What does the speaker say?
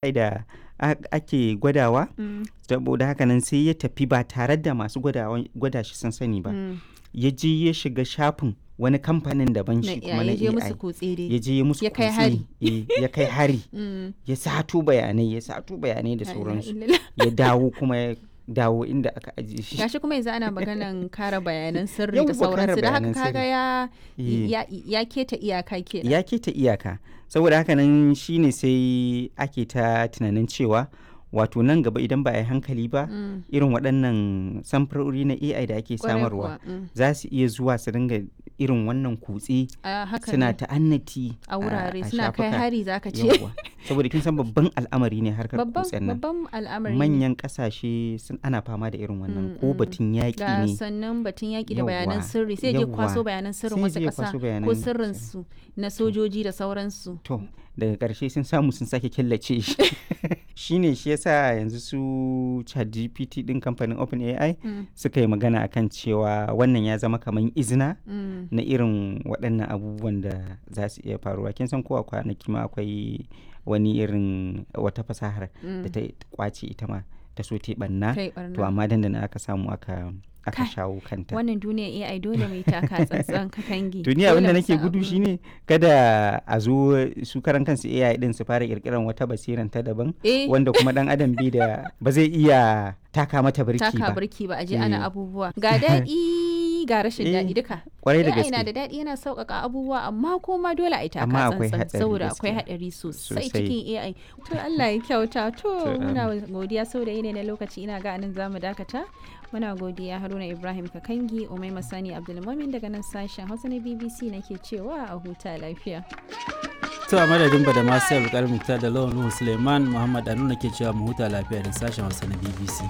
Da ake gwadawa, saboda haka nan sai ya tafi ba tare da masu gwada shi sun sani ba. Ya je ya shiga shafin wani kamfanin daban shi kuma na ya je musu AI. kutse dai. Ya je ya musu Ya kai kutse, hari. eh, ya kai hari. Ya sato bayanai, ya sato bayanai da La ilaha sauransu. illallah. Ya dawo kuma ya dawo inda aka ajiye shi. Gashi kuma yanzu ana maganan kare bayanan sirri da Yawwa, kare sauransu da haka bayanan kaga sirri. ya Eh. ya keta iyaka kenan. Ya keta iyaka. Saboda haka nan shine sai ake ta tunanin cewa wato nan gaba idan ba a yi hankali ba, irin waɗannan samfurori na AI da ake Kwarai samarwa kuwa, za su iya zuwa su dinga irin wannan kutse A haka suna ne. ta'annati A wurare a suna kai shafuka. hari zaka ce. Yawwa. Saboda kin san babban al'amari ne harkar Babban kutsen nan. babban al'amari ne. Manyan ƙasashe sun ana fama da irin wannan ko batun yaƙi Ga ne. sannan batun yaƙi da bayanan Yawwa, sirri sai je kwaso yawwa. bayanan sirrin Sai wasu je ya ƙasa kwaso ko bayanan sirrin su na sojoji da sauransu. To, daga ƙarshe sun samu sun sake killace shi. Shi ne shi yasa yanzu su ChatGPT ɗin kamfanin OpenAI suka yi magana akan cewa wannan ya zama kamar izina na irin waɗannan abubuwan da za su iya faruwa. Kin san ko a kwanaki ma akwai wani irin wata fasahar da ta ƙwace ita ma ta so ta yi ɓarna. Ta yi To ɓarna. amma dandana aka samu aka Kai, shawo kanta. wannan duniyar AI dole mu yi taka tsantsan katangi. To ni abin da Dole mu nake san gudu abu. shine kada a zo su karan kansu AI din su fara kirkiran wata basiran ta daban Eh. wanda kuma dan adam bi da ba zai iya taka mata birki Taka ba. birki ba a je ana Eh. abubuwa. Ga daɗi ga rashin Eh, daɗi duka. Kwarai da AI na gaske. da daɗi yana sauƙaƙa abubuwa amma kuma dole a yi taka Amma akwai tsantsan hatsari saboda akwai gaskiya. haɗari sosai Sosai. cikin AI. To Allah ya kyauta. To To, muna godiya saboda yanayi na lokaci ina ga anan zamu dakata. Muna godiya Haruna Ibrahim Kakangi, Umaima Sani Abdulmumin daga nan sashen Hausa na BBC nake cewa a huta lafiya. To a madadin ba da masu yau Muktar da Lawan Nuhu Suleiman Muhammad Anu ke cewa mu huta lafiya da sashen Hausa na BBC.